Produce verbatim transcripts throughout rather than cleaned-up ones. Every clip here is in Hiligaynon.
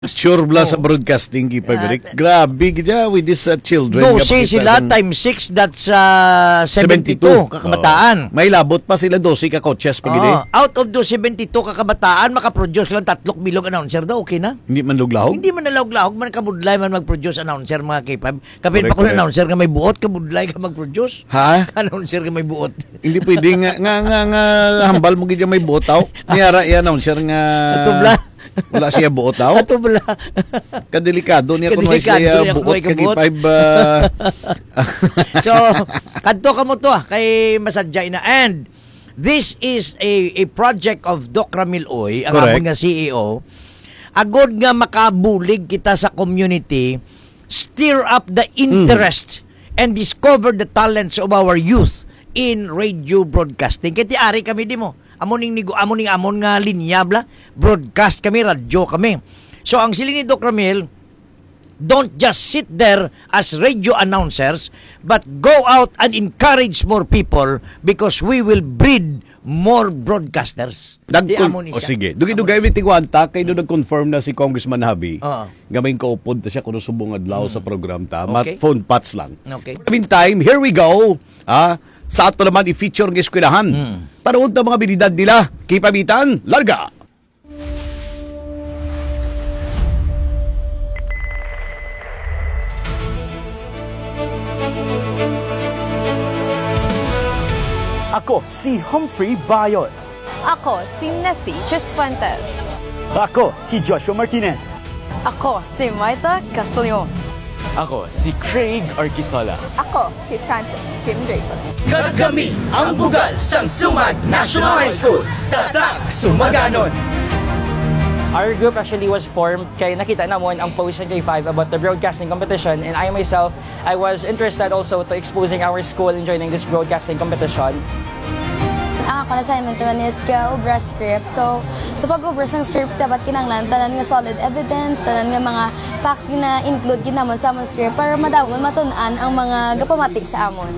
Sure bala sa Oh. broadcasting, K five Ah, Rick. Grabe gid ya with these, uh, children nga Dose pakita sila sang times six, that's, uh, seventy two. Seventy two ka kabataan. Oo. May labot pa sila, dose ka coaches pa gid eh. Oo. Out of those seventy two ka kabataan, makaproduce lang tatlok bilog announcer daw, okay na? Hindi man luglaog? Hindi man nalawag-lawag, man kabudlay man mag-produce announcer, mga K five. Kapin Correct, pa ko na correct. announcer nga may buot, kabudlay ka mag-produce. Ha? Announcer nga may buot. Hindi pwede nga, nga, nga, nga hambal mo gid ya may buot, aw. Niyara iya announcer nga Ato bala. wala siya buot, aw. Ato bala. Kadelikado niya kung wala Kadelikado siya niya kung buot, wala ka buot. K five, ah. So, kadto ka mo to, ah, kay masadya na. And this is a, a project of Doc Ramil Uy, ang Correct. amon nga C E O. Agod nga makabulig kita sa community, stir up the Mm. interest and discover the talents of our youth in radio broadcasting. Kay ti ari kami di mo. Amo ning nigo-, amo ning amon nga linya bala. Broadcast kami, radyo kami. So ang siling ni Doc Ramil, don't just sit there as radio announcers, but go out and encourage more people because we will breed more broadcasters. Di Nagkon-, amo ni o siya. sige. Dugi-dugay mi tingwanta kay do nag-confirm na si Congressman Javi Oo. nga may kaupod ta siya kuno subong adlaw sa Mm. program ta. Mat-, Okay. phone pats lang. Okay. Meantime, here we go. Ah, sa ato naman i-feature nga eskwelahan. Mm. Tanawon ta mga abilidad nila. Kay pamitan, larga. Ako si Humphrey Bayot. Ako si Nessie Chisfuentes. Ako si Joshua Martinez. Ako si Maita Castellon. Ako si Craig Arquisola. Ako si Francis Kim Dreyfus. Kag kami ang bugal sang Sumag National High School, Tatak Sumaganon. Our group actually was formed kay nakita namon ang post sa K five about the broadcasting competition, and I myself, I was interested also to exposing our school in joining this broadcasting competition. Ang akon assignment naman is gaobra script. So, sa pag-obra sang script, dapat kinahanglan tanan nga solid evidence, tanan nga mga facts nga na-include gid namon sa amon script para madamo matun-an ang mga gapamati sa amon.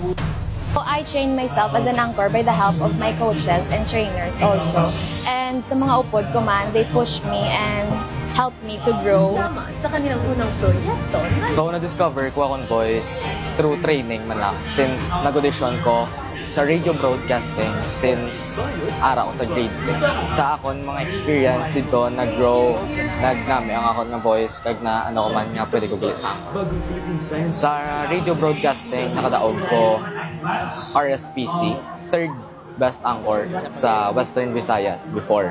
So, I trained myself as an anchor by the help of my coaches and trainers also. And sa mga upod ko man, they push me and help me to grow. Sama sa kanilang unang proyekto na So, na-discover ko akong voice through training man lang, since nag-audition ko sa radio broadcasting since ara ko sa grade six. Sa akon mga experience dito, nag-grow, nagnami ang akon nga voice, kag na ano ko man nga pwede ko gali sa akon. Sa radio broadcasting, nakadaog ko R S P C, third best anchor sa Western Visayas before.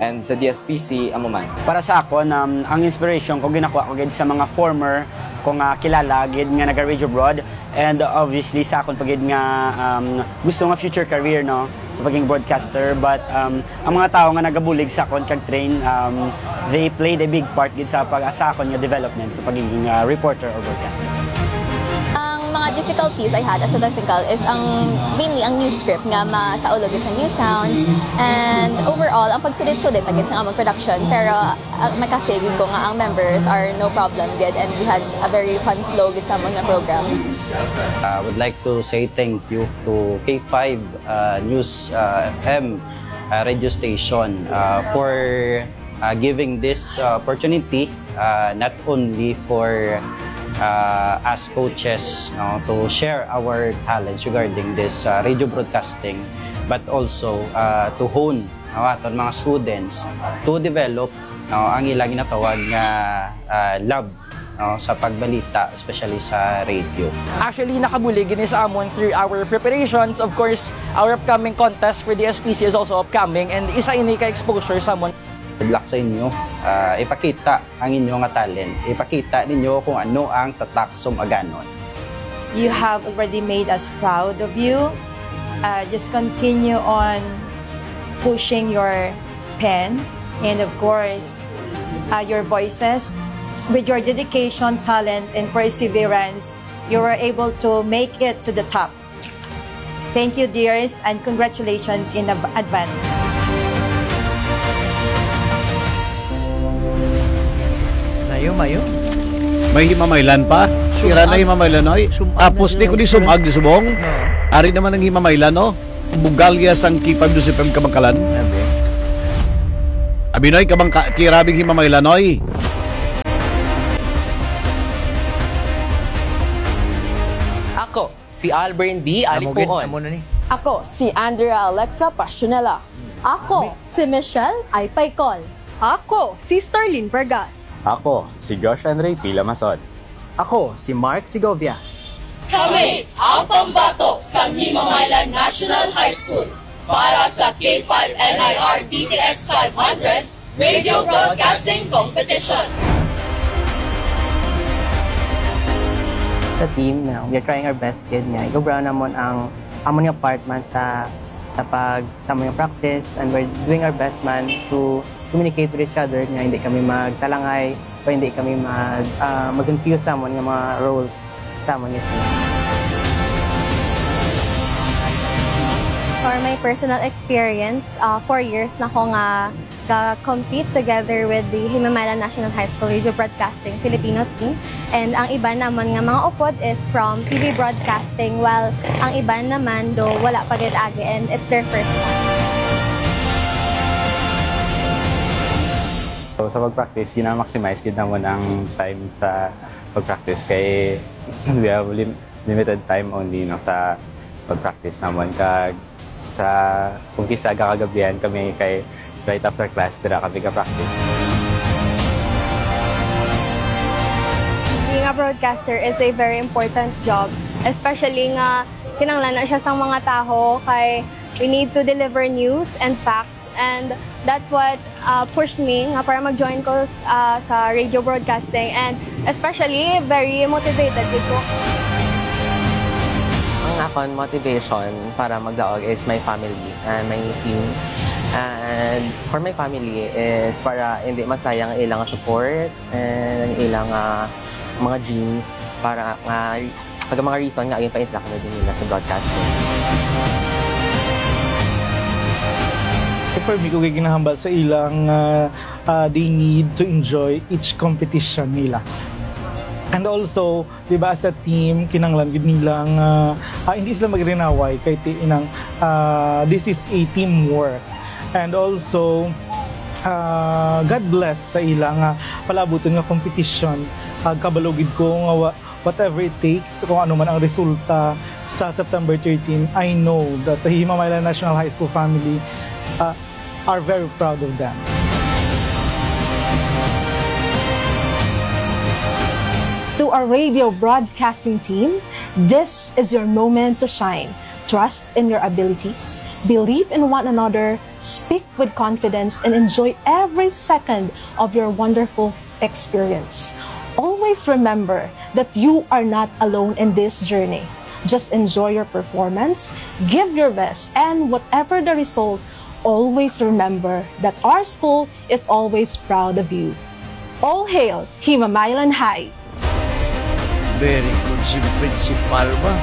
And sa D S P C, amo man. Para sa akon, um, ang inspiration ko ginakuha ko gid sa mga former ko nga kilala gid nga naga-radio abroad, and obviously sa akon pa gid nga, um, gusto nga future career, no, sa pagiging broadcaster. But, um, ang mga tawo nga nagabulig sa akon kag train, um, they played a big part gid sa pag-, sa akon nga development sa pagiging, uh, reporter or broadcaster. Ang mga difficulties I had as a technical is ang, mainly ang news script nga masaulog gid sa news sounds, and overall ang pagsulit-sulit na gid sa among production, pero, uh, may kasigig ko nga ang members are no problem gid, and we had a very fun flow gid sa among nga program. I would like to say thank you to K five, uh, News, uh, F M, uh, radio station, uh, for, uh, giving this, uh, opportunity, uh, not only for, uh, us coaches, no, to share our talents regarding this, uh, radio broadcasting, but also, uh, to hone, no, aton mga students to develop, no, ang ilang ginatawag nga, uh, love, no, sa pagbalita, especially sa radio. Actually, nakabulig ini sa amon through our preparations. Of course, our upcoming contest for the S P C is also upcoming, and isa ini ka exposure sa amon. Good luck sa inyo. Ah, ipakita ang inyo nga talent. Ipakita ninyo kung ano ang Tatak Sumaganon. You have already made us proud of you. Uh, just continue on pushing your pen and, of course, uh, your voices. With your dedication, talent, and perseverance, you were able to make it to the top. Thank you, dears, and congratulations in ab-, advance. Mayo, mayo. May himamaylan pa? Sum-, Ira na himamaylan, oy. Sum-, Tapos di ko di sum-, sumag di subong. No. Ari naman ang himamaylan, no? Bugalya sang K five News F M Kabangkalan. Abi. Abi, noy, kabangka-, kirabing himamaylan, oy. Ako, si Albrin D. Amo gid, Alipuon. Amo na ni. Ako, si Andrea Alexa Passionella. Ako, si Michelle Aypaycol. Ako, si Starlene Vargas. Ako, si Josh Andre P. Lamason. Ako, si Mark Segovia. Kami ang pambato sa Himamaylan National High School para sa K five N I R D T X five hundred Radio Broadcasting Competition. Sa team, no, we are trying our best, gid, nga igabraw namon ang amon nga part man sa, sa pag, sa amon nga practice, and we're doing our best man to communicate with each other, nga hindi kami magtalangay o hindi kami mag, ah, mag-confuse sa amon nga mga roles sa amon nga team. For my personal experience, ah, four years na ko nga ga-compete together with the Himamaylan National High School Radio Broadcasting Filipino team. And ang iban namon nga mga upod is from T V Broadcasting, while ang iban naman do wala pa gid agi and it's their first time. So, sa pag-practice, gina-maximize gid namon ang time sa pag-practice kay we have lim-, limited time only, no, sa pag-practice namon. Kag sa, kung kisa gakagabihan kami kay right after class, dira kami ka-practice. Being a broadcaster is a very important job, especially nga kinahanglan na siya sang mga tawo kay we need to deliver news and facts, and that's what, uh, pushed me nga para mag-join ko, uh, sa radio broadcasting, and especially very motivated gid ko. Ang akon motivation para magdaog is my family and my team. And for my family is para hindi masayang ang ilang support and ang ilang, ah, mga dreams para nga, pag mga reason nga yung pa-interact na din nila sa broadcasting. For me, kung ginahambal sa ilang, ah, ah, they need to enjoy each competition nila. And also, di ba, as a team, kinanglan gid nila nga, ah, hindi sila magrinaway kay ti-, inang, ah, this is a teamwork. And also, ah, God bless sa ila nga palabuton nga competition. Ah, kabalo gid ko nga wa-, whatever it takes, kung ano man ang resulta sa September thirteen, I know that the Himamaylan National High School family, ah, are very proud of them. To our radio broadcasting team, this is your moment to shine. Trust in your abilities, believe in one another, speak with confidence, and enjoy every second of your wonderful experience. Always remember that you are not alone in this journey. Just enjoy your performance, give your best, and whatever the result, always remember that our school is always proud of you. All hail Himamaylan High! Very good si principal ba?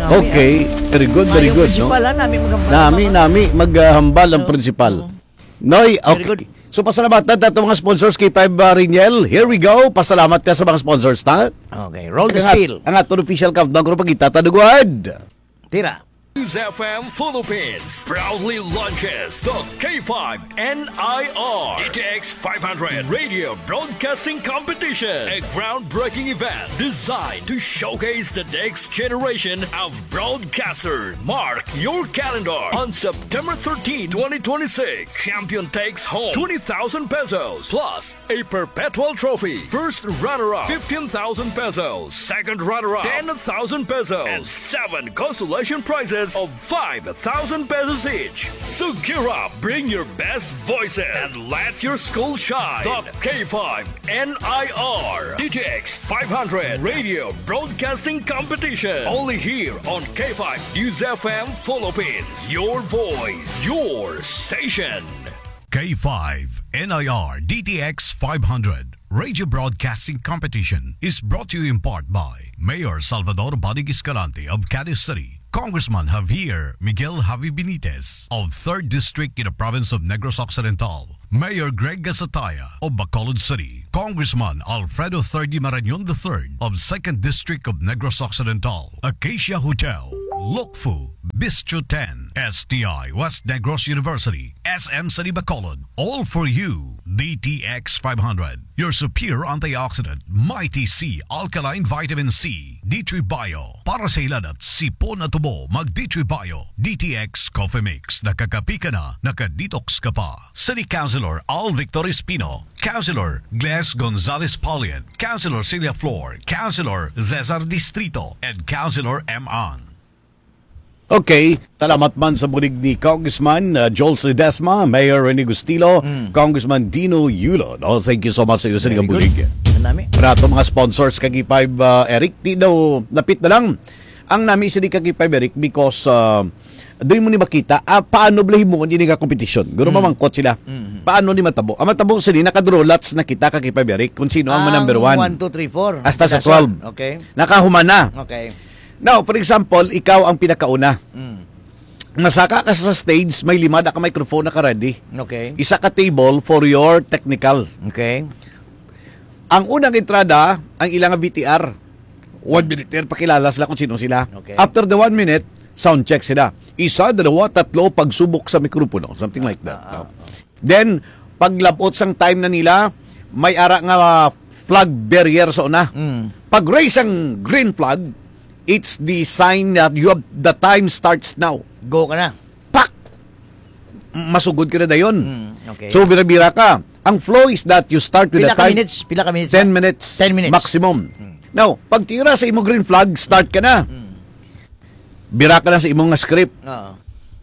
Nami, Okay, ah. Very good, very Mayo good, no? Principal, ah, nami maghambal Nami, ang mga nami maghambal ang Oo. Principal. Oo. Noy, Very okay. Good. So, pasalamatan ta itong mga sponsors, K five, uh, Riniel. Here we go. Pasalamat ka sa mga sponsors, ta? Okay, roll the Ang at-, spiel. Ang aton official countdown, kung pagkita ta, dugwad. Tira. News F M Philippines proudly launches the K five N I R D T X five hundred Radio Broadcasting Competition, a groundbreaking event designed to showcase the next generation of broadcasters. Mark your calendar on September thirteenth, twenty twenty-six. Champion takes home twenty thousand pesos plus a perpetual trophy. First runner-up, fifteen thousand pesos. Second runner-up, ten thousand pesos. And seven consolation prizes of five thousand pesos each. So gear up, bring your best voices, and let your school shine. The K five N I R D T X five hundred Radio Broadcasting Competition. Only here on K five News F M Philippines. Your voice, your station. K five N I R D T X five hundred Radio Broadcasting Competition is brought to you in part by Mayor Salvador Bodig Escalante of Cadiz City, Congressman Javier Miguel Javi Benitez of third District in the province of Negros Occidental, Mayor Greg Gasataya of Bacolod City, Congressman Alfredo Third Marañon the third of second District of Negros Occidental, Acacia Hotel, Lokfu, Bistro ten, S T I, West Negros University, S M City Bacolod, All for You, D T X five hundred, your superior antioxidant, Mighty C Alkaline Vitamin C, D three Bio, para sa hilanat, sipon at ubo, mag D three Bio, D T X Coffee Mix, nakakapi ka na, naka-detox ka pa. City Councilor Al Victor Espino, Councilor Gles Gonzalez Paulian, Councilor Celia Flor, Councilor Cesar Distrito, and Councilor M. An. Okay, salamat man sa bulig ni Congressman, uh, Joel Ledesma, Mayor Rene Gustilo, Mm. Congressman Dino Yulo. No? Thank you so much sa iyo sa Very good. Bulig. Ang nami. Para ato mga sponsors kag K five, uh, Eric, di daw napit na lang ang nami sa di kag K five, Eric, because uh, doon mo ni makita ah, paano bala himuon ini nga competition. Guro Mm. mamangkot sila. Mm. Paano ni matabo? Ang matabo sila, naka-draw lots na kita kag K five, Eric, kung sino ang number one. One, two, three, four. Hasta sa That's twelve. All. Okay. Nakahuman na. Okay. Now, for example, ikaw ang pinakauna. Mm. Masaka ka sa stage, may lima na ka microphone naka-ready. Okay. Isa ka table for your technical. Okay. Ang unang entrada, ang ilang V T R. One minute, pakilala sila kung sino sila. Okay. After the one minute, sound check sila. Isa, dalawa, tatlo, pagsubok sa mikropono. Something like that. Ah, No? ah. Then, paglabot sang time na nila, may ara nga flag bearer sa una. Mm. Pag-raise ang green flag, it's the sign that you have, the time starts now. Go ka na. Pak! Masugod ka na dayon. Mm, okay. So, bira-bira ka. Ang flow is that you start with Pila a ka time. Minutes? Pila ka minutes? Ten minutes. Ten minutes. Maximum. Mm. Now, pag tira sa imo green flag, start ka na. Mm. Bira ka na sa imong nga script. Oo.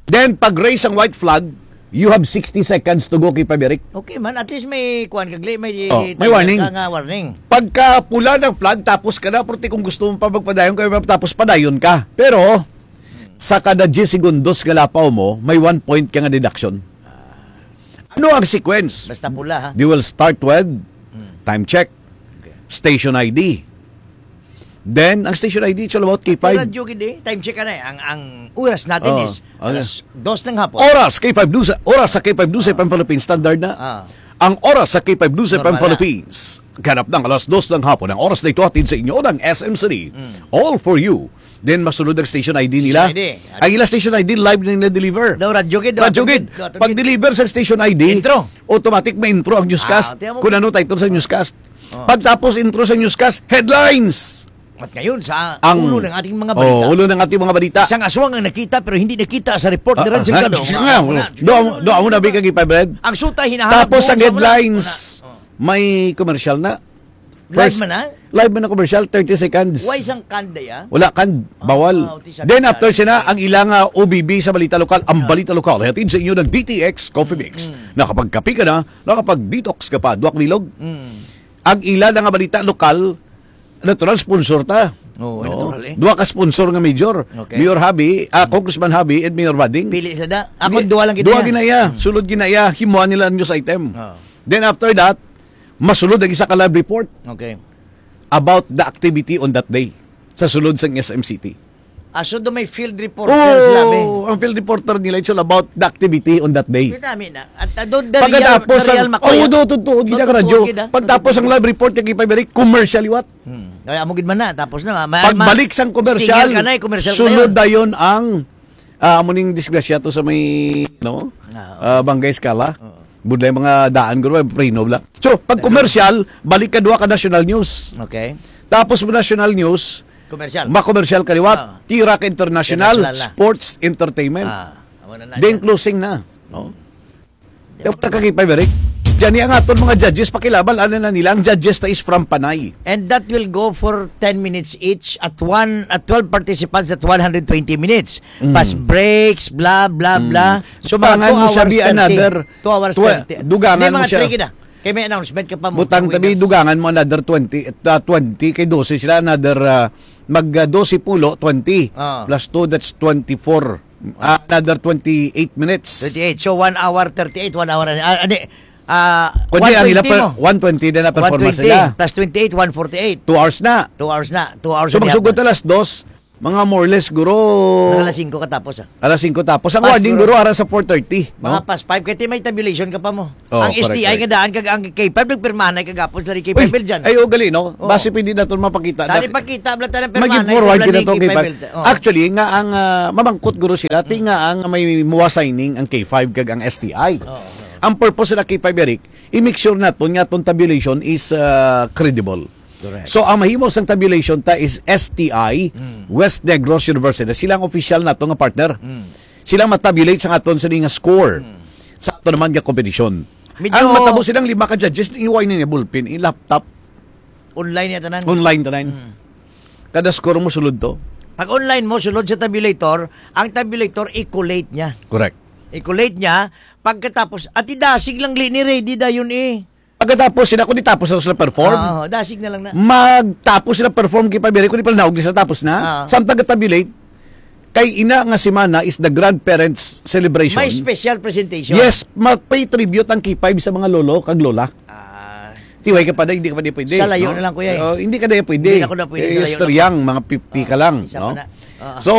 Then, pag raise ang white flag, you have sixty seconds to go, K five, Eric. Okay man, at least may kuwan kagli, may Oh, may warning. Ka nga warning. Pagka pula ng flag, tapos ka na, pero kung gusto mo pa magpadayon ka, tapos padayon ka. Pero, sa kada diyes segundos nga lapaw mo, may one point ka nga deduction. Ano ang sequence? Basta pula, ha? They will start with Hmm. time check, Okay. station I D. Then, ang station I D, it's all about K five. Pero, Jugid, eh, time check ka na, eh. Ang, ang oras natin Oo. is Ano? alas dos ng hapon. Oras, K five News, oras sa K five News Ah. F M Philippines, standard na. Ah. Ang oras sa K five News F M Normal na. Philippines, ganap ng alas dos ng hapon. Ang oras na ito, hatid sa inyo ng S M City. Mm. All for you. Then, masunod ang station I D nila. Station I D. Ang ila station I D, live na nila deliver. Daw, Radyo Gid, daw, Radyo Radyo Gid. Gid, daw, Radyo Gid. Pag-deliver sa station I D, Intro. automatic may intro ang newscast. Ah, tiyan mo. Kung ano title sa newscast. Oh. Pagtapos intro sa newscast, headlines. At ngayon, sa Ang ulo ng ating mga Oh, balita. ulo ng ating mga balita. Isang aswang ang nakita pero hindi nakita sa report ni Ah, Red ah, Salgado. sige nga, Wala. do, do, do, amo na, Big Agi Five Red. Ang suta, hinahanap Tapos mo, ang wala. headlines, Wala. Oh. may commercial na. Live First, man, ha? live man ang commercial, thirty seconds. Why isang kanda, ya? Wala kan, Ah, bawal. ah, uti sa Then kanda. after siya na, ang ilang ah, O B B sa balita lokal, ang Ah. balita lokal, hatid sa inyo ng D T X Coffee Mix. Mm. Nakapagkape ka na, nakapag-detox ka pa, duwak bilog. Mm. Ang ila na nga balita lokal, natural sponsor ta. Oo, No? natural, eh. Duha ka sponsor nga major. Okay. Mayor Habi, ah, Congressman Habi, and Mayor Bading. Pili sa da. Ako, Di- duha lang gid duha niya. gid na iya. Mm. Sulod gid na iya. Himuan nila ang news item. Oo. Then after that, masulod ang isa ka live report Okay. about the activity on that day sa sulod sang S M City. Ah, so do may field reporter sila, be? Oh, ang field reporter nila, it's all about the activity on that day. Pero dami na. At, ah, do, the Pagkatapos real, ang, the real oh, Macoya. do, totoo, gid ang Totoo, radyo. gid, ah. Pagtapos ang Totoo. live report kay K five Eric, commercial liwat. Hmm. Kaya amo gid man na, tapos na, ma-, ma-, Pagbalik sang commercial, stinger ka na, eh, commercial ka sulod na. dayon ang, ah, amo ning disgrasya to sa may, no? Ah, Ah, Bangkay Escala. Oo. Budlay mga daan, guro, preno bala. So, pag commercial, balik ka duha ka national news. Okay. Tapos mo national news, Commercial. ma-commercial ka liwat, Ah. tira ka international, International na. sports, entertainment. Ah, amo na na Then dyan. closing na. No? Yung pagkakipay, Eric. Diyan ang aton mga judges, pakilabal, ano na nila, ang judges na is from Panay. And that will go for ten minutes each at one, at twelve participants at one hundred twenty minutes. Mm. Plus breaks, blah, blah, Mm. blah. So, mga Pangan two mo siya, hours be thirty. another Two hours twe-, thirty. dugangan Hindi, mo mga siya. three gid na. Kay may announcement ka pa mo, Butang tabi, winners. dugangan mo another twenty, uh, twenty, kay dose sila, another, uh, mag, uh, dose pulo, twenty. Ah. Plus two, that's twenty-four. Ah, another twenty-eight minutes. Twenty-eight. So, one hour thirty-eight, one hour and, ah, ano, ah, Kundi ang ila one twenty per-, mo. one twenty din na performance One twenty nila. plus twenty-eight, one forty-eight. Two hours na. Two hours na. Two hours So, na magsugod yata. na alas dos, Mga more or less, guro. Mga alas singko katapos, ah. Alas singko tapos. Ang Pas, warning, guro. guro, ara sa four thirty, no? Mga past five, kaya may tabulation ka pa mo. Oh, Ang correct, S T I correct. nga daan, kag ang K five, nagpirmahan na kagapos na rin K five Uy, dyan. ay, oh, gali, no? Oh. Basi pwede natin mapakita na. Dali pakita, bala tayo ng pirmahan, Mag-forward ito lang kita yung itong K five. K five. Oh. Actually, nga ang, ah, mamangkot, guro, sila, ti Mm. nga ang may muwa signing ang K five kag ang S T I. Oo, oo. Ang purpose sa K five, Eric, i-make sure naton nga atong tabulation is, ah, credible. Correct. So, ang mahimo sang tabulation ta is S T I, Mm. West Negros University. Sila ang official nato nga partner. Mm. Sila ang matabulate sa aton sa nga score. Mm. Sa ato naman nga competition. Medyo Ang matabo silang lima ka judges, iway na niya ballpen, i-laptop, Online niya tanan. online tanan. Mm. Kada score mo sulod to. Pag online mo, sulod sa tabulator, ang tabulator i-collate niya. Correct. I-collate niya, pagkatapos, at idasig lang li ni ready dayon eh. Pagkatapos sila, kung di tapos na sila perform, Oo, dasig na lang na. magtapos sila perform kay Pabiri, kung di pala naog sila tapos na. Oo. Samtang tabulate, kay ina nga semana is the grandparents celebration. May special presentation. Yes, ma-pay tribute ang K five sa mga lolo kag lola. Ah. Tiway ka pa na, hindi ka pa di pwede, Sa layo no? na lang, kuya, eh. Oh, hindi ka na pwede. Hindi na ako na pwede, Eh, sa layo na. Istorya ang mga fifty ka Ah, lang, isa no? pa na. Ah. So,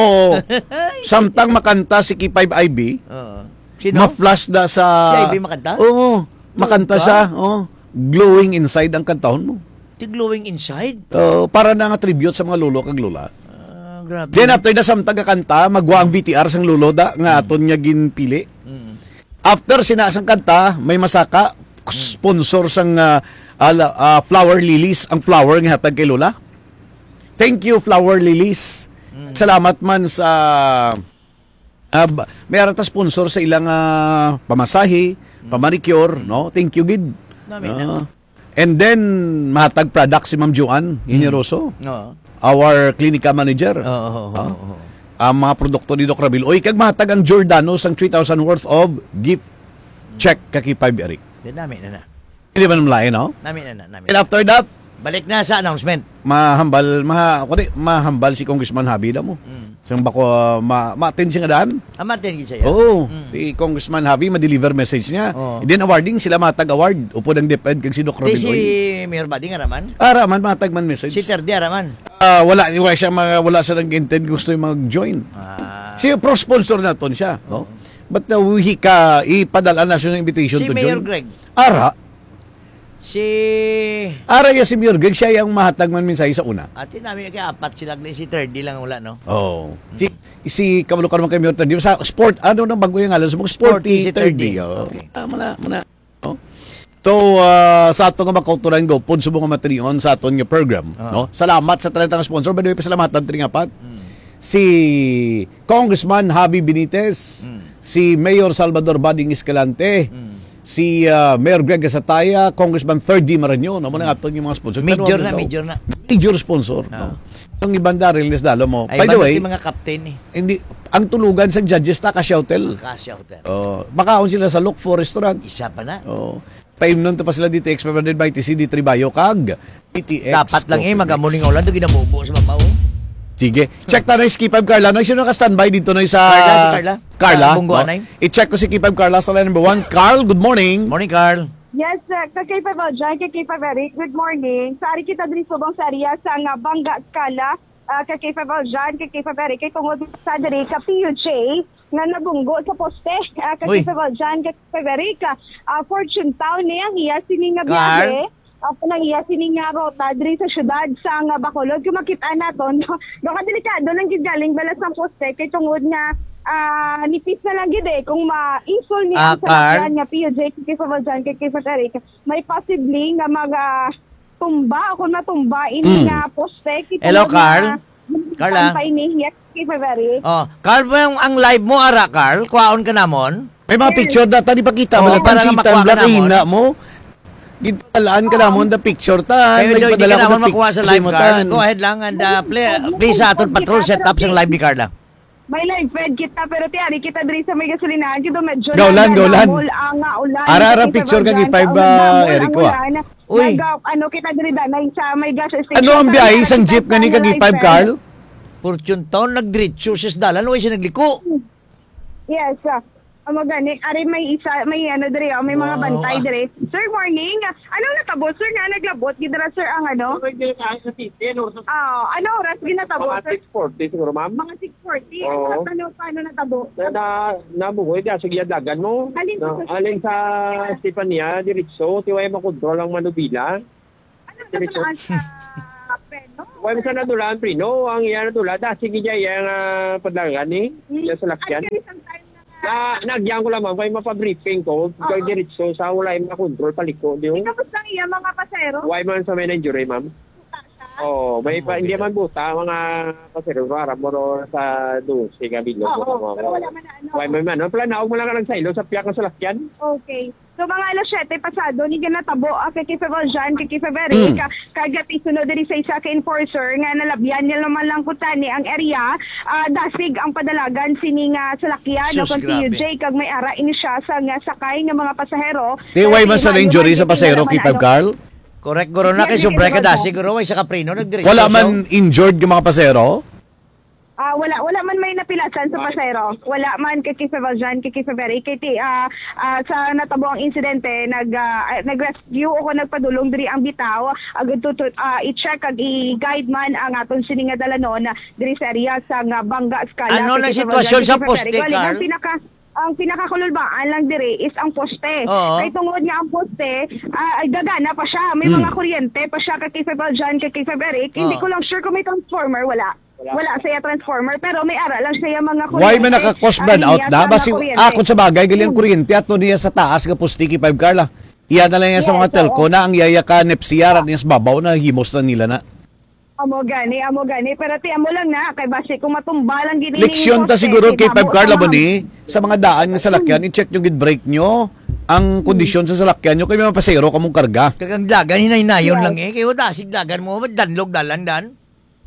samtang makanta si K five I B, Oo. Sino? ma-flash na sa Si I B makanta? Oo, makanta Ka? siya. Oh, Glowing Inside ang kantahon mo. Ti Glowing Inside? Oh, para na nga tribute sa mga lolo kag lola. Ah, grabe. Then after na samtang kakanta, magwa ang V T R sang lolo da nga Mm. aton nga ginpili. Mm. After sina sang kanta, may masaka, Mm. sponsor sang, ah, ala-, ah, Flower Lilies, ang flower nga hatag kay lola. Thank you, Flower Lilies. Mm. Salamat man sa, ah, ba-, may ara ta sponsor sa ilang, ah, pamasahe, Mm. pamanicure, Mm. no? Thank you gid. Nami na. Ah, and then, mahatag product si Ma'am Joanne Mm. Generoso, Oo. our clinica manager. Oo, oo, Ah? oo, oo. Ang mga produkto ni Doc Rabil. Oy, kag mahatag ang Giordano sang three thousand worth of gift check ka kay Five Eric. Di nami na na. Hindi ba namlain, no? Nami na na, nami And na. after that, Balik na sa announcement. mahambal, maha-, ako di, mahambal si Congressman Javi da mo. Mm. Sang bako, ma-, ma-attend siya nga daan. Ah, ma-attend gid siya. Oo, Mm. si Congressman Javi ma-deliver message niya. Oo. And then awarding sila, matag award. Upod ang DepEd kag si Doc Di Robin si Uy. Mayor Bading araman? Ara man, matag man message. Si Terdi araman? Ah, wala, wala siya, ma-, wala siya nag-intend gusto yung mag-join. Ah. Si pro sponsor naton siya, no? Oo. But, uh, we ka, ipadala na siya ng invitation Si to Mayor join. Greg. Ara. Si Ara ya si Mayor Greg, siya yung mahatag man mensahe sa una. Ati namin kay apat sila, si Terdi lang wala, no? Oo. Si, Mm. si kabalo ka naman kay Mayor Terdi. Sa sport, ano nang bago yung ngalan? Sa mga Sporty Sporty si Terdi, Terdi. oh. Okay. Ah, muna, muna. No? So, ah, sa ato nga makauturan, go, pod sa mga matinion sa aton nga program, Ah. no? Salamat sa talentang sponsor. By the way, pasalamatan, Tring Apat. Mm. Si Congressman Javi Benitez, Mm. si Mayor Salvador Bading Escalante, Mm. si, ah, Mayor Greg Gasataya, Congressman Third D Marañon, amo na Mm. nga aton yung mga sponsor. Major Pero, na, no? major na. Major sponsor, Ah. no? Yung iban, Daryl, Nesdalo mo. Ay, By the iban na way, si mga captain, eh. hindi, ang tulugan sa judges ta, Acacia Hotel. Acacia Hotel. Oh, makaon sila sa Look for Restaurant. Isa pa na. Oh. Paimnon to pa sila D T X five hundred by T C D three Bayo kag D T X Dapat lang, eh, coffee mix. Magamuling ulan, to ginabubo sa babaw. Sige. Check ta na si K five Carla. No, sino naka-standby dito na sa Carla, si Carla. Carla, Sa Bunggo, no? Anay. I-check ko si K five Carla sa line number one. Carl, good morning. Morning, Carl. Yes, uh, ka K five Aljan, ka K five Eric, good morning. Sa ari kita diri subong sa area sa nga Bangga Escala, ah, ka K five Aljan, ka K five Eric, kay tungod sa diri ka P U J nga nabunggo sa poste, ah, ka Uy. K five Aljan, ka K five Eric, ah, Fortune Town ni ang iya sini nga Carl? biyahe. Ako nang iya sini nga rota diri sa syudad sa nga Bacolod. Kung makita naton, no? Daw ka delikado lang gid galing balas ng poste kay tungod nga, ah, nipis na lang gid eh kung ma-insol ni Ah, ang salakyan Carl? nga P U J, ka K five Aljan, ka K five Eric. May posible nga mag, ah, tumba o kung matumba ini Mm. nga poste, kita Hello, nga Carl? Carla? Pampay ni Hiya kay February. Oh, Carl, mo ang, ang live mo, ara, Carl? Kuhaon ka namon? May mga Oo. picture data, di pakita, Oo, wala para lang pansitan, makuha ka wala namon. kahina mo. Gitalaan ka Oo. namon, the picture, tan. Kayo May daw, hindi padala ka ko namon the makuha sa picture live, mo, Carl. tan. Go ahead lang and, uh, play, please, sa aton patrol setup sa live ni Carla. May live feed kita, pero ti ari kita diri sa may gasolinahan, kito medyo Gaulan, nagdadamol gaulan. ang, ah, ulan. Ara, ara, Kita picture ka, banggan, gipay ba, gaulan, damol ang Eric, wa? ulan. Uy. Nag-, ano, kita diri danay sa may gas station. Ano ang Sa biyahe may sang jeep nakita gani nga kag live five, feed. Carl? Fortune Town, nagdiretso siya sa dalan, uy, siya nagliko. Yes, ah. Amo gani, ari may isa, may ano diri, oh, may mga Wow. bantay diri. Sir, morning. Anong natabo, sir, nga naglabot gid dira, sir, ang ano? Ay, di, ah, sa city, ano, sa Ah, ano oras ginatabo, Mga sir? six forty siguro, ma'am. Mga six forty. Oo. Ano, paano, paano natabo? Na, na, nabugoy, di, sige, dagan mo. Alin Na, sa alin sa Stefania, diretso, ti way makontrol ang manubila. Ano Diretso. nadulaan sa preno? Wala mo sa nadulaan, preno. Ang iya nadulaan, dasig niya, iya nga padlangan, eh. Hmm. Iya salakyan. Ay, kaya isang time na nga. Na, nagyan ko lang, ma'am, kay mapabriefing ko, Oo. kay diretso sa wala yung makontrol, paliko, di Di mo? Tapos lang iya, mga pasero? Why man sa may na-injury, ma'am? Buta siya? Oo, may pa, Ah, hindi okay. man buta, mga pasero, para mo ro sa dose, nga bilog, Oo, mga pero wala man na ano. Why man, man, no? Planaog mo lang ka lang sa ilo, sa piyak ng salakyan. Okay. So, mga alas siyete pasado, ni ginatabo, ah, kay Kife Valjean, kay Kife Veric, Mm. ah, kag yati sunod diri sa isa ka enforcer nga nalabyan niya naman lang kutani ang area, ah, dasig ang padalagan sini nga salakyan, Sus, no, kung grabe. C U J, kag may ara ini siya sa nga sakay nga mga pasahero. Di, Pero way man di sa maayo na-injury man sa gid pasahero, naman, Kife ano. Carl? Correct, guro, na Yes, kay yes, sobra ka yes, dasi, yes. guro, way sa kaprino, nagdiretso Wala siya. man injured nga mga pasahero? Ah, wala, wala man may napilasan sa Ah. pasahero. Wala man kay Kife Valjean, kay Kife Veric. Kay ti, ah, ah, sa natabo ang insidente, nag, ah, ah, nag-rescue o kung nagpadulong diri ang bitaw. Agud to, to, ah, i-check kag i-guide man ang aton sini nga dalanon diri sa area sa nga Banga Escala. Ano Kay na Kife sitwasyon Valjean, sa kay Kife poste, Veric. Bali, ang Carl? pinaka, ang pinakakululbaan lang diri is ang poste. Oo. Kay tungod nga ang poste, ah, ay gagana pa siya. May Hmm. mga kuryente pa siya kay Kife Valjean, kay Kife Veric. Hindi Oo. ko lang sure kung may transformer, wala. Wala. Wala sa iya transformer, pero may ara lang sa iya mga Why kuryente. man naka-cause Ang brownout iya na? sa Basi, mga kuryente. ah, kung sa bagay, gali ang Hmm. kuryente ato niya sa taas nga poste, Kife Carl, ah. Iya na lang yan sa Yes, mga telco oo. na ang yaya ka nepsiyaran niya sa babaw na himos na nila na. Amo gani, amo gani. Pero ti, amo lang na, kay basi kung matumba lang gid ini Leksyon ta poste, siguro, kay Kife Carl, amo ni, sa mga daan nga salakyan, Hmm. i-check nyo gid brake nyo, ang Hmm. kondisyon sa salakyan nyo, kay may mapasero ka mong karga. Kag ang dagan, hinay-hinayon Yes. lang eh. Kay wala, sig dagan mo, danlog dalan, dan.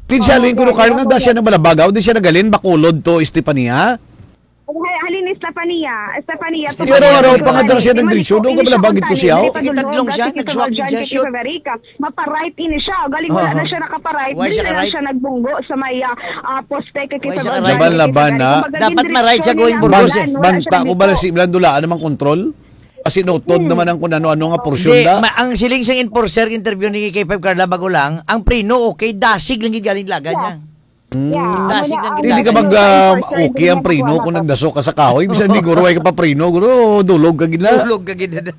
Kinsa Oo, ling kuno, Carl, nga da siya nagbalabagaw, di siya nagalin, Bacolod to Estefania? Ay, halin ni Estefania, Estefania to Pero Bacolod. araw pa nga daw siya Di man nagdiretso, ito, doon ka hindi siya balabag ito on siya, time, oh. hindi pa Kitadlong dulong, siya, kasi nag-swap siya, siya, shoot. Kife Veric, mapa-right ini siya. Galing wala Oo. na siya nakapa-right, Why dili siya na ka-right? siya nagbunggo sa may, ah, ah, poste kay Why Kife siya Valjean, ka-right? Laban-laban na. Kumbaga, Dapat gindiretso ma-right siya niya going ang burgos, Ban-, eh. Wala siya banta ko ba nagdiretso. na si Blandulaan namang kontrol? Kasi notod Hmm. naman ang kung ano-ano nga porsyon Hindi, da. ma-, ang siling sang enforcer, interview ni Kife Carl, bago lang, ang preno, okay, dasig lang gid galing lagan Yeah. niya. Hmm. Yeah, Dasig amo na lang ang gid Hindi ka lagan mag, niya. um, Enforcer, okay hindi ang niya preno makuha kung ako. nagdaso ka sa kahoy. Bisan di guro, ay ka pa preno, guro, dulog ka gid na. Dulog ka gid na.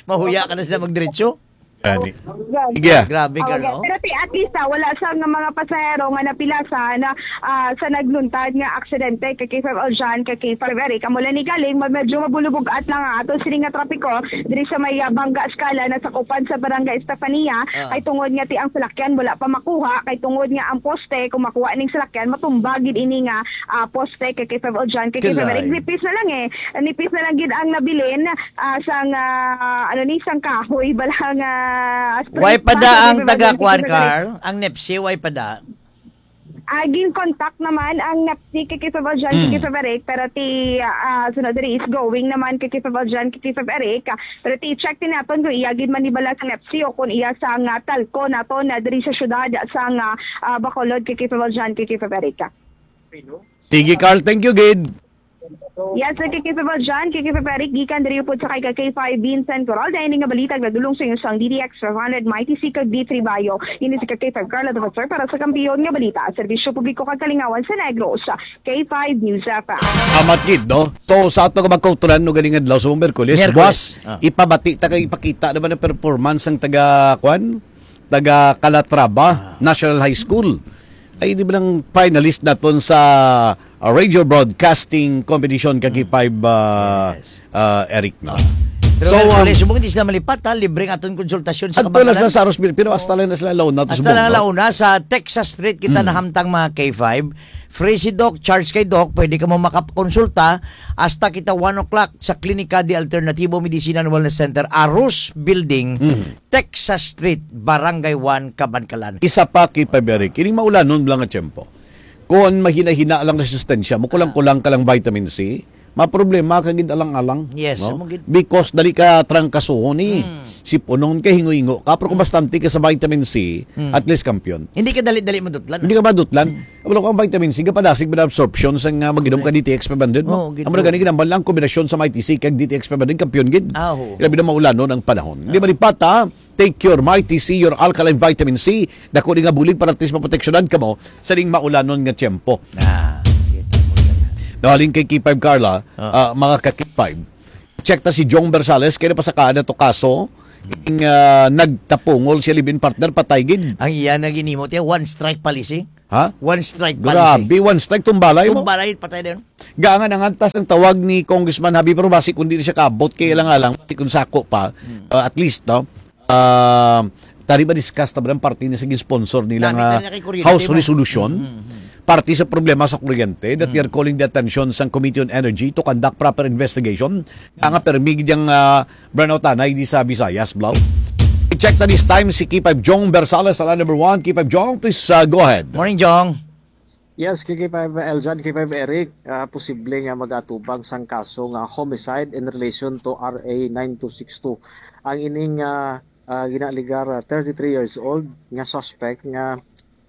Mahuya ka na sila magdiretso. Gani. Yan. Sige. Grabe ka, Oh, yeah. no? Pero ti, at least, ah, wala sa nga mga pasahero nga napilasan na, ah, sa nagluntad nga aksidente kay Kife Valjean, kay Kife Veric. Amo lang ni galing, ma-, medyo mabulubog-at lang ang ato sini nga trapiko diri sa may, ah, Banga Escala, nasakupan sa Barangay Estefania. Ah. Kay tungod nga ti ang salakyan wala pa makuha, kay tungod nga ang poste, kung makuha ning salakyan, matumba gid ini nga, ah, poste kay Kife Valjean, kay Kife Kalay. Veric. Nipis na lang eh. Nipis na lang gid ang nabilin, ah, sang, ah, ano ni, sang kahoy, bala nga, ah, Way pa da ang taga-kuan, Carl? Ang nepsi, way pa da? Ah, gin-contact naman ang nepsi kay Kife Valjean, Mm. kay Kife Veric, pero ti, ah, sunod diri is going naman kay Kife Valjean, kay Kife Veric. Pero ti check din naton kung iya gid man ni bala sa nepsi o kung iya sa nga telco naton na diri sa syudad sa nga, ah, Bacolod kay Kife Valjean, kay Kife Veric. Sige, Carl. Thank you, gid. Yes, sir, kay Kife Valjean, kay Kife Veric, gikan diri upod sa kay ka K five Vincent Coralda, ini nga balita nagdulong sa inyo sang D D X five hundred, Mighty C kag D three Bayo. Ini si ka K five Carla Defensor para sa Kampiyon nga Balita, Serbisyo Publiko kag Kalingawan sa Negros, K five News F M. Amat gid, no? So, sa ato nga magkauturan, no, galing adlaw sa Miyerkules, Miyerkules. buwas, Ah. ipabati ta kag ipakita naman ang performance ng taga, kwan? Taga Calatrava Ah. National High School. Ay, di ba lang finalist naton sa, ah, radio broadcasting competition kag Hmm. K five, ah, Yes. ah, Eric, no? Pero So, well, um, Pres, subong hindi sila malipat, ha? Libre ang aton konsultasyon sa adto lang kabataan. sa Aros Bil-, pero hasta Oo. lang na sila launa to Hasta subong, lang no? launa sa Texas Street kita Hmm. nahamtang, mga K five. Free si Doc, charge kay Doc, pwede ka mo makakonsulta hasta kita one o'clock sa Klinika de Alternativo Medicina and Wellness Center, Aros Building, Hmm. Texas Street, Barangay one, Kabankalan. Isa pa, K five Eric, kining maulanon lang nga tiyempo. Kung mahina-hina lang resistensya mo, kulang-kulang ka lang vitamin C, Maproblema ka gid alang-alang, Yes, no? Amo gid. Because dali ka trangkasuhon, eh. Mm. Sipunon ka, hingo-hingo ka, pero kung Mm. bastante ka sa vitamin C, Mm. at least kampiyon. Hindi ka dali-dali madutlan. Hindi ka madutlan. Mm. Wala kang vitamin C, kapadasig ba na absorption sa nga mag-inom ka Correct. D T X five hundred mo? Oo, gid. Amo na gani, ginambal lang kombinasyon sa Mighty C kag D T X five hundred, kampiyon gid. Ah, oo. Ilabi na maulanon ang panahon. Di Ah. ba, di pata? Take your Mighty C, your alkaline vitamin C. Dako ni nga bulig para at least maproteksyonan kamo sa ning maulanon nga tiyempo. Ah, kita mo yan. Nahalin kay K five Carla, Ah. ah, mga ka K five. Check ta si Jong Bersales, kaya napasakaan na to kaso. Ing, ah, nagtapungol siya, live-in partner, patay gid. Ang iya na ginimo, tiya, one strike policy. Ha? One strike policy. Grabe, one strike, tumbalay mo. Tumbalay, patay din. Gaangan ang antas ng tawag ni Congressman Habib, pero basi kung di na siya kaabot, kay alang-alang, basi kung sako pa, Hmm. ah, at least, no? Ah, tari ba discuss ta ba ng parte ni sa sponsor nila Nami nga tari na kay kuryente House mo. Resolution? Hmm, hmm, hmm. Parte sa problema sa kuryente that Hmm. they are calling the attention sang Committee on Energy to conduct proper investigation. Nga nga permi gid yang, ah, brownout anay di sa Visayas, Blau. I-check na this time si K five Jong Bersales sa line number one. K five Jong, please, ah, go ahead. Morning, Jong. Yes, K five Eljan, K five Eric, ah, posible nga mag-atubang sang kaso nga homicide in relation to R A nine two six two. Ang ining, ah, ah, ginaaligar, ah, thirty-three years old nga suspect nga,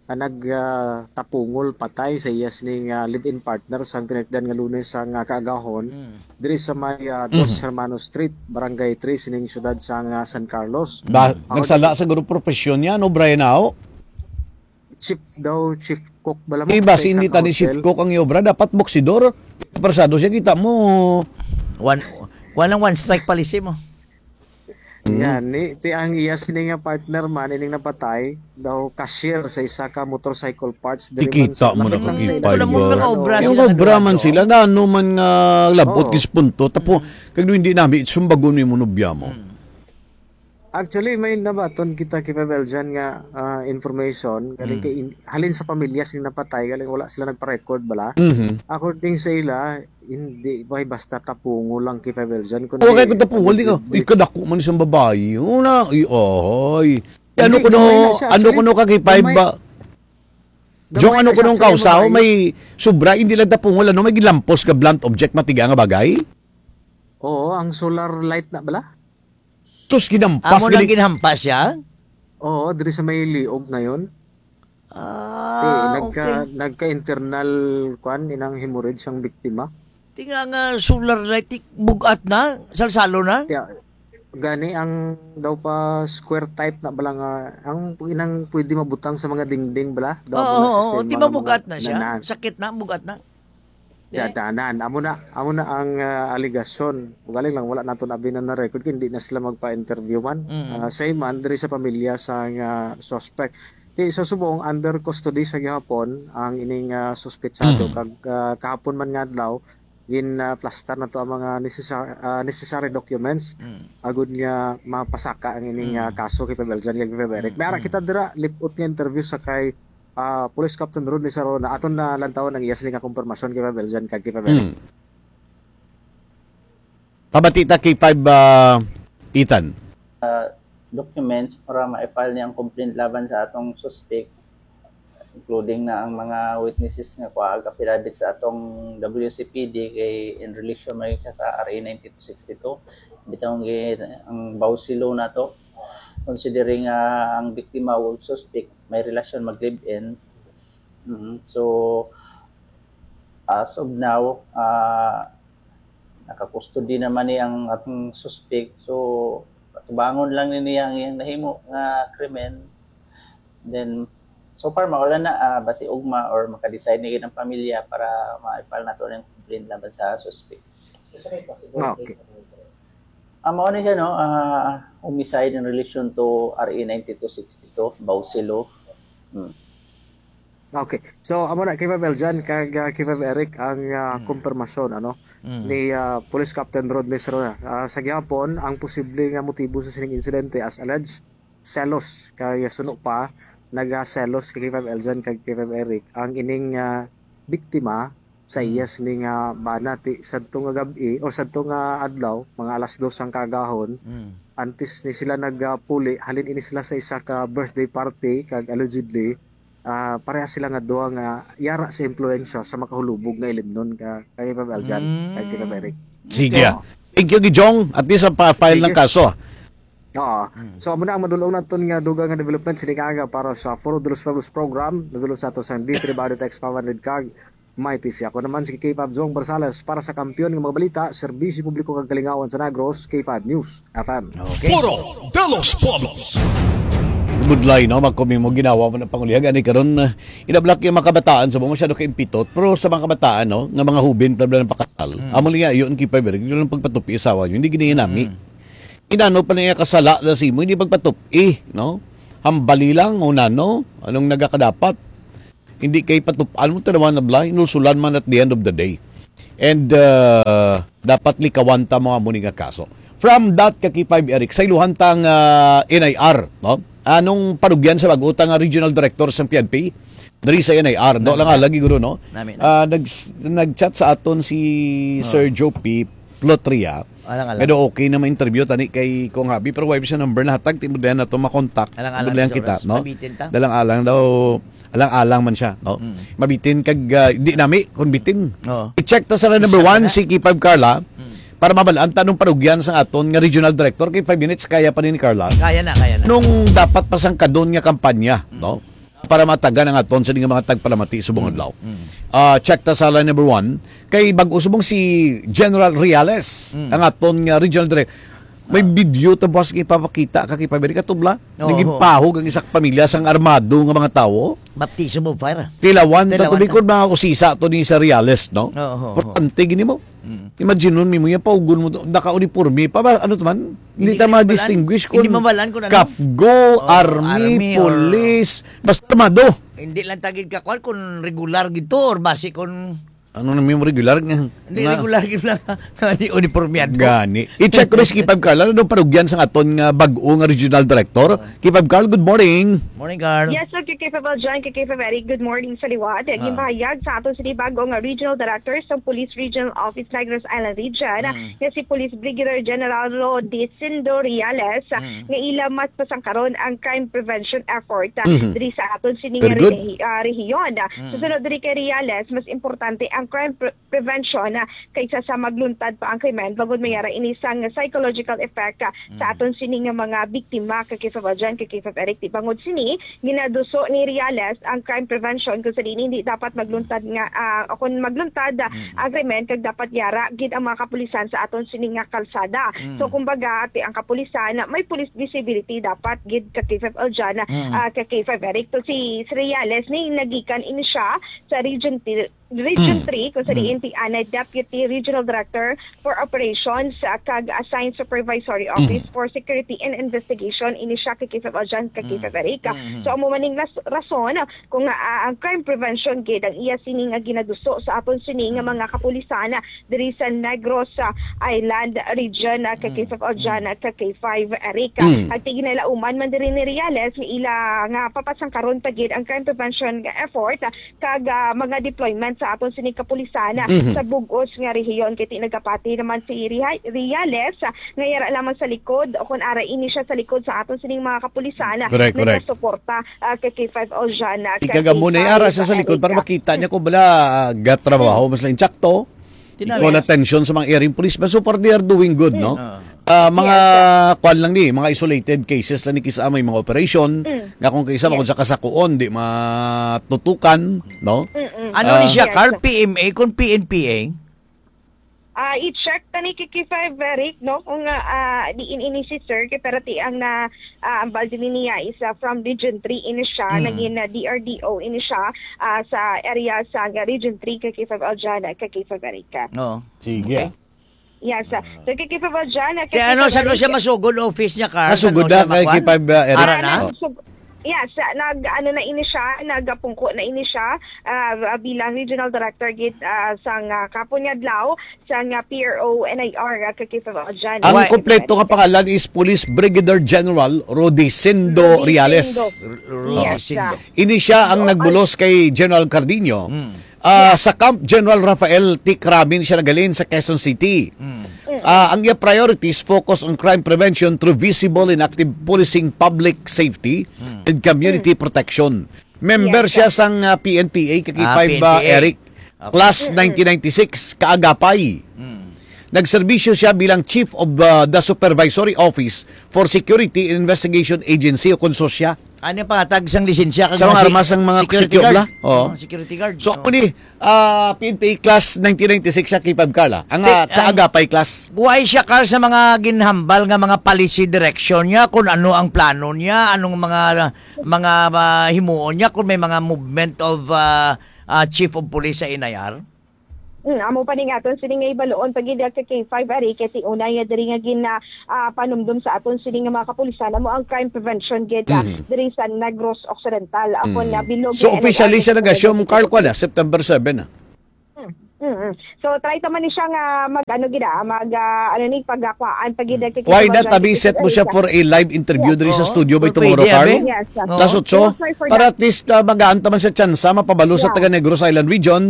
ah, nag, ah, tapungol patay sa iya sining, ah, live-in partner sang tinagdan nga Lunes sang, ah, kaagahon Mm. diri sa may, ah, Dos Mhm. Hermanos Street, Barangay three sining siyudad sang, ah, San Carlos. Ba, Ako nagsala din sa guro profesyon niya, no, Brian Ao? Chief daw, chief cook bala mo Di ba, sa si isang hindi tani chief hotel. Cook ang obra? Dapat boksidor. Persado siya, kita mo. One, walang one strike policy mo. Hmm. Yan, ni, ti ang iya sini nga partner man, ining napatay, daw cashier sa isa ka motorcycle parts. Diri man Ikita sa mo na lapit lang sa kakipay ito na mo ba? Sila nga obra Yung sila nga obra man duha, sila, na ano man nga labot Oo. Gispunto. Tapo, Mm. kag hindi nami, sumbagon mo yung nubya mo. Mm. Actually, may nabaton kita kay Pabel dyan nga, ah, information. Galing Mm. kay in-, halin sa pamilya sila napatay, galing wala sila nagpa-record bala. Mhm. According sa ila, hindi ba basta tapungo lang kay Pabel dyan, kundi Okay, kung tapungo, di ka, allegedly ikadako man isang babae. Una, ay, ay. Ano Hindi, kuno, gamay na siya. ano Actually, kuno ka kay five gamay, ba? Gamay Jong, ano na siya. Kuno ang Actually, kausa? Babae. May sobra, hindi lang tapungo, ano, may gilampos ka blunt object, matiga nga bagay? Oo, ang solar light na bala? Sus, ginampas Amo nang gali. Ginhampas siya? Oo, diri sa may liog na yun. Ah, Eh, nagka-, okay. nagka-internal, kwan, inang hemorrhage ang biktima. Tinga nga solar light, ik-, bugat na, salsalo na? Tiya, gani ang daw pa square type na bala nga, ang inang pwede mabutang sa mga dingding bala, daw Oo, ang oo, sistema ti nga mga mabugat na siya. Nanan. Sakit na, bugat na. Eh? Dadanan. Amo na, amo na ang, ah, alegasyon. Ugaling lang, wala nato na abi na na-record, kay hindi na sila magpa-interview man. Mm. Ah, same man, diri sa pamilya sa nga suspect. Kay sa subong, under custody sa gihapon ang ining, ah, suspetsado. Mm. Kag, ah, kahapon man nga adlaw, gin, ah, plastar na to ang mga necessar-, ah, necessary documents Mm. agud nga mapasaka ang ining, Mm. ah, kaso kay Pabel dyan, kay Pabel Eric. Mm, May ara mm. kita dira, lipot nga interview sa kay ah, Police Captain Rodney Sarona, aton na lantawan ang iya sini nga kumpirmasyon kay Pabel dyan kag kay Pabel. Mm. Pabati ta kay five, ah, Ethan. Ah, documents para ma-file niya ang complaint laban sa atong suspect, including na ang mga witnesses nga kuha affidavit sa atong W C P D kay in relation man siya sa R A ninety-two sixty-two. Bitaw ang gi-, ang Bausi Law nato, considering, ah, ang biktima o suspect may relasyon mag-live-in. Mm, so, as of now, ah, naka-custody naman ni ang atong suspect. So, patubangon lang ni niya ang iyang nahimo nga krimen. Then, so far, mawala na, ah, basi ugma or maka-decide na gid ang pamilya para ma-file nato ng complaint laban sa suspect. Ah, okay. Ah, mao ni siya, no? Ah, homicide in relation to R A ninety-two sixty-two, Bausi Law. Hmm. Okay. So, amo na, K five Eljan, kag, ah, K five Eric, ang, ah, Hmm. kumpirmasyon, ano, Hmm. ni, ah, Police Captain Rodney Sarona. Ah, sa gihapon, ang posible nga motibo sa sining insidente, as alleged, selos. Kay suno pa, nagaselos kay K five Eljan kag K five Eric. Ang ining, ah, biktima sa Hmm. iya sini nga bana ti sadto nga gab-i o sadto nga adlaw, mga alas dos ang kagahon, Hmm. antes ni sila nagapuli, halin ini sila sa isa ka birthday party kag allegedly, Ah, pareha sila nga duha nga yara sa impluwensya sa makahulubog nga ilimnon ka, kay Pablo Aljan, kay Tito Eric. Sige, ah. Thank you, Gijong. At least, ah, pa-file ng kaso, ah. Oo. So, amo na ang madulong naton nga dugang nga development sining aga para sa Foro de los Pueblos program. Nadulong sa ato sang D three Body Text five hundred kag Mighty siya. Ako naman si K five Zong Barsales para sa Kampiyon nga mga balita, Serbisyo Publiko kag Kalingawan sa Negros, K five News F M. Okay. Foro de los Pueblos. Budlay, no? Magkumi mo ginawa mo ng pangulihag. Ani karon, ah, inablak yung mga kabataan sa mga masyado kaimpitot. Pero sa mga kabataan, no? Nga mga hubin, bla, bla, ng pakasal. Amo lang yun, kay Pablo, yun ang pagpatupi asawa nyo. Hindi ginahinami. Inano pa na iya kasala na si mo, hindi pagpatupi, no? Hambali lang, o nano, anong nagakadapat? Hindi kay patupan mo, tanawan na bla, inulsulan man at the end of the day. And, uh, dapat likawan ta mga muni nga kaso. From that, Kaki five Eric, sa iluhan tang, uh, N I R, no? Anong panugyan sa bag-o ta nga regional director sa P N P? Diri sa N I R, no? Lang lagi guro, no? Nami, nami. Ah, nag-, nag-chat sa aton si Sir Joe P. Plotria. Alang-alang. Pero okay na ma-interview tani kay Kong Habi, pero wala siya number na hatag, timudayan na to makontak. Alang-alang. Timudayan sa kita, oras, no? Mabitin ta. Dalang-alang daw, alang-alang man siya, no? Mm. Mabitin kag, ah, di nami, kung bitin. Oo. I-check ta sa number one, si Kipag Carla, para mabalaan ta nung parugyan sa aton nga regional director. Kay five minutes, kaya pa ni Carla. Kaya na, kaya na. Nung dapat pasangkadon nga kampanya, no? Para matagan ang aton sa mga tagpalamati subong adlaw. Ah, check ta sa line number one. Kay bag-o subong si General Reales, ang aton nga regional direct. May video ta buwas nga ipapakita ka kay Paberi Katubla. Oo. Naging pahog ang isa ka pamilya sang armado nga mga tawo. Baptism of fire. Tilawan ta. Tilawan tubig ta. Kung mga usisa to ni sa Reales, no? Oo, oo. Importante gini mo. Mm. Imagine nun, Mimo, yung paugon mo to, naka-uniforme pa ba? Ano to man? Hindi ta ma-distinguish kung kapgo, army, police, basta armado. Hindi lang tagid ka kwan kung regular gito or basi kung ano na may regular nga, hindi nga regular gid lang. Hindi uniformeado. Gani. I-check ko na si Kipag Carla. Ano parugyan sa aton nga bag-o nga regional director? Kipag Carl, good morning. Morning, Carl. Yes, sir. Kay Kipag John, kay Kipag Eric, good morning sa liwat. Ah. Ginpahayag sa aton sini bag-o nga regional director sa Police Regional Office Negros Island Region, mm, nga si Police Brigadier General Rodi Sindo Reales, ah, mm, nga ila mas pasangkaron ang crime prevention effort, ah, mm-hmm, diri sa aton sini nga, very good, rehi-, ah, rehiyon. Mm. Susunod diri kay Reales, mas importante ang crime pre-, prevention, ah, kaysa sa magluntad pa ang krimen, bangod may ara ini sang psychological effect, ah, sa, mm, aton sini nga mga biktima, kay Kifab Aljan, kay Kifab Eric. Di bangod sini, ginaduso ni Reales ang crime prevention kung sa diin hindi dapat magluntad nga, ah, o kung magluntad, ah, mm, ang krimen, kag dapat yara gid ang mga kapulisan sa aton sini nga kalsada. Mm. So, kumbaga, ti ang kapulisan, may police visibility dapat gid ka K five Aljan, mm, ah, ka K five Eric. So, si, si Reales ni nagikan ini siya sa Region Region, mm, three, kung sa, mm, diin ti anay Deputy Regional Director for Operations, ah, kag Assigned Supervisory Office, mm, for Security and Investigation, ini siya kay Kifab Aljan, kay, mm, Kifab Eric. Mm. So, amo man ning ras-, rason kung, ah, ang crime prevention gid ang iya sini nga ginaduso sa aton sini nga, mm, mga kapulisan, ah, diri sa Negros, ah, Island Region, ah, kay, mm, Kifab Aljan, mm, ah, kay, K five Eric. Mm. At ginalauman man diri ni Reales nga ila nga papasangkaron pa gid ang crime prevention nga effort, ah, kag, ah, mga deployment sa aton sini kapulisan, ah, mhm, sa bug-os nga rehiyon. Kay ti nagapati naman si Riha-, Reales, ah, nga yara lamang sa likod o kon ara ini siya sa likod sa aton sining mga kapulisan, ah, correct, correct, nagasuporta, ah, kay K five Aljan, ah, kag amo na ara sa, sa likod para makita niya kung bala, ah, gatrabaho, mm, mas lang insakto. Tinami. Ikaw na atensyon sa mga area policemen. So far, they are doing good, no? Mm. Ah, mga, yes, sir, kwan lang ni, mga isolated cases lang ni, kisa may mga operation, mm, nga kung kisa, yes, kung sa kasakuon, di matutukan, no? Mm-mm. Ano ni siya, yes, Carl? Sir. P M A kung P N P A? Ah, i-check ta ni Kiki Five Eric, no? Kung, ah, ah, diin ini si Sir, kay pero ti ang na, ah, ang bal din niya is, ah, from Region three ini siya, mm, naging, ah, D R D O ini siya, ah, sa area sa Region three, kay K five Aljan, kay K five Eric. Oo. Sige. Okay. Yes, ah, so, kay K five Aljan, kay Kaya ano, K five saan mo siya Eric masugod office niya, Carl? Masugod na kay K five, ah, Eric. Ara na? Ah, nagsug-, yes, ah, nag, ano na ini siya, nagapungko na ini siya, ah, bilang Regional Director gid, ah, sang, ah, kapon nga adlaw, sang, ah, P R O N I R, ah, kay K five Aljan. Ang kompleto nga pangalan is Police Brigadier General Rodicindo Reales. Rodicindo. Yes, ah. Ini siya ang nagbulos kay General Cardinho. Mm. Ah, yes. Sa Camp General Rafael T. Cramin siya nagalin sa Quezon City. Mm. Ah, ang iya priorities focus on crime prevention through visible and active policing, public safety, mm, and community, mm, protection. Member Yes, siya sir. sang, ah, P N P A, kaki Ah, five, ah, P N P A. Eric. Okay. Class Mm-mm. nineteen ninety-six, Kaagapay. Mm. Nagserbisyo siya bilang Chief of, ah, the Supervisory Office for Security and Investigation Agency o kon sosya. Ano yung pangatag sang lisensya kag Sa mga mga si-, armas ang mga security security guard? bla? Oo. Oh, security guard. So, Oh. ako ni, ah, P N P A class nineteen ninety-six siya, K five Carla. Ang, Ti-, ah, ang Kaagapay class. Why siya, Carl, sa mga ginhambal nga mga policy direction niya, kung ano ang plano niya, anong mga, mga, ah, himuon niya, kung may mga movement of, ah, ah, chief of police sa N I R? Hmm, amo pa ning aton sini nga ibaluon pa gid ka K five ari, kay ti una ya diri nga gin, ah, ah, panumdum sa aton sini nga mga kapulisan amo ang crime prevention gid, ah, Mhm. diri sa Negros Occidental. Ako Mm. na bilog So, ni officially N I R siya nag-assume, Occidental. Carl, kwa na, September seven, ah. Hmm, hmm, hmm. So, try ta man ni siya nga mag, ano gid, ah, mag, ah, ano ni, pagkakwaan pa gid Hmm. kay Why Kevin not, Marjan, abi, kay set mo siya Kevin for a live interview Yeah. diri sa Oo. studio by Pwede, tomorrow, Carl? abi. Yes, ah. Oo. Plus otso, We'll try for para that. at least, ah, magaan ta man sa tsansa, mapabalo sa Yeah. taga Negros Island Region,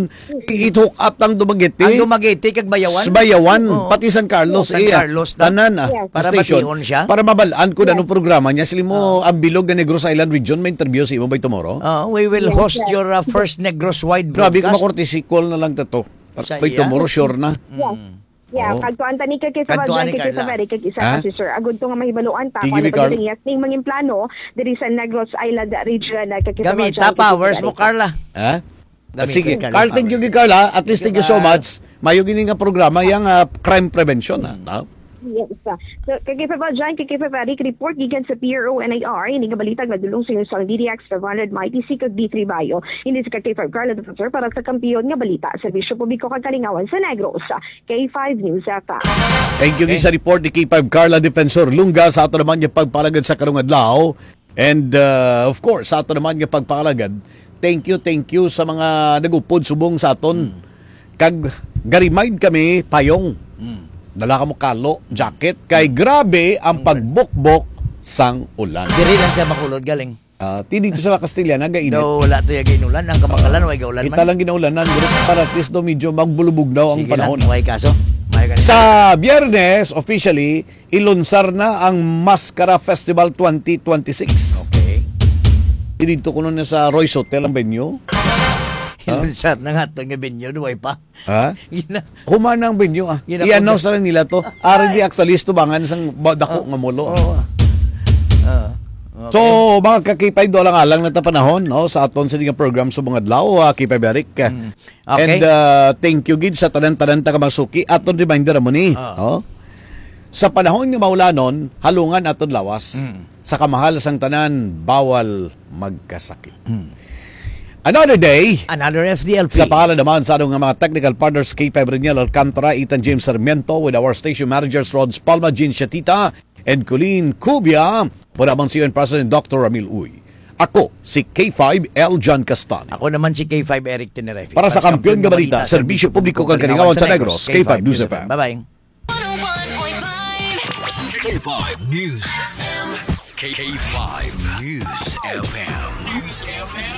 i-, i-hook up ang Dumaguete. Ang Dumaguete kag Bayawan? Sa Bayawan, Oo. pati San Carlos, San iya. Carlos, ta-, Tanan, ah, Yes. Para station. bation siya? Para mabalaan ko na Yes. anong programa niya. Sila mo, Ah. ang bilog nga Negros Island Region, may interview sa imo by tomorrow? Ah, we will Yes, host sir. your, uh, first Negros wide Grabe, kung broadcast. makortesi call na lang ta to. Para Sa by iya? tomorrow, sure na. Yeah. Mm. Yeah, Oo. Kadtuan ta ni kay Kevin Kadtuan Marjan, ni kay Kevin Carla. Eric, kag isa Ha? ka si Sir Agud to nga mahibaluan ta Sige, kung ano Carl. ba ning plano diri sa Negros Island region, ah, kay Kevin Gamita Marjan, kay Kevin powers mo, Eric. Carla. Ha? Gamita Sige, ka Carl, lang thank you, powers. Carla. At least, Thank you, thank you so Carl. much. Mayo gini nga programa, yang, ah, crime prevention, ah, Mm. no? Yes, ah. So, kay Kevin Marjan, kay Kevin Eric, report gikan sa P R O N I R, ini nga balita nga dulong sa inyo sang D D X five hundred, Mighty C, kag D three Bayo. Ini si kay Kevin Carla, Defensor, para sa Kampiyon nga Balita, Serbisyo Publiko kag Kalingawan sa Negros. K five News F M. Thank you, Okay. sa report ni K five Carla Defensor Lunga sa ato naman nga pagpalagad sa karong adlaw. And, uh, of course, sa ato naman nga pagpalagad, thank you, thank you sa mga nag-upod subong sa aton. Mm. Kag ga-remind kami, payong. Mm. Dala ka mo kalo, jacket. Kay Mm. grabe ang Mm. pagbukbok sang ulan. Diri lang siya makulod galing. Ah, ti dito sa Castilla, nagainit. Daw wala to yung ginulan. Ang kamakalan, Ah, way gaulan kita man. lang ginaulan na, pero para at least daw medyo magbulubog daw ang Sige lang, panahon. may kaso. May kaso. Sa Biyernes, officially, ilunsar na ang Maskara Festival twenty twenty-six. Okay. Dito kuno na sa Royce Hotel ang venue. Ha? Ilunsar na nga to nga venue, duway pa. Ha? Gina- Human ang venue, ah. Gina- I-announce na lang nila to. Ay. Ari di actually, tubangan sang ba-, dako Oh. nga molo. Oh. Ah. Okay. So, mga ka-K five, doon lang alang na ta panahon, no, sa aton sa nga program sa mga adlaw, ah, K five Eric. Mm. Okay. And, uh, thank you gid sa tanan-tanan ta ka mga suki. Aton reminder mo ni, Ah. no? Sa panahon nga maulanon, halungan aton lawas. Mm. Sa kamahal sang tanan, bawal magkasakit. Mm. Another day. Another F D L P. Sa pangalan naman sa aton nga mga technical partners, K five Reniel Alcantara, Ethan James Sarmiento, with our station managers, Rods Palma, Jean Shatita, and Colleen Cubia. Mura man si U N President Doctor Ramil Uy. Ako si K five L John Castani. Ako naman si K five Eric Tenerife. Para sa Kampiyon nga Balita, Serbisyo Publiko kag Kalingawan sa Negros, K five News F M. Bye-bye. One oh one point five K five News F M. K five News F M. News F M.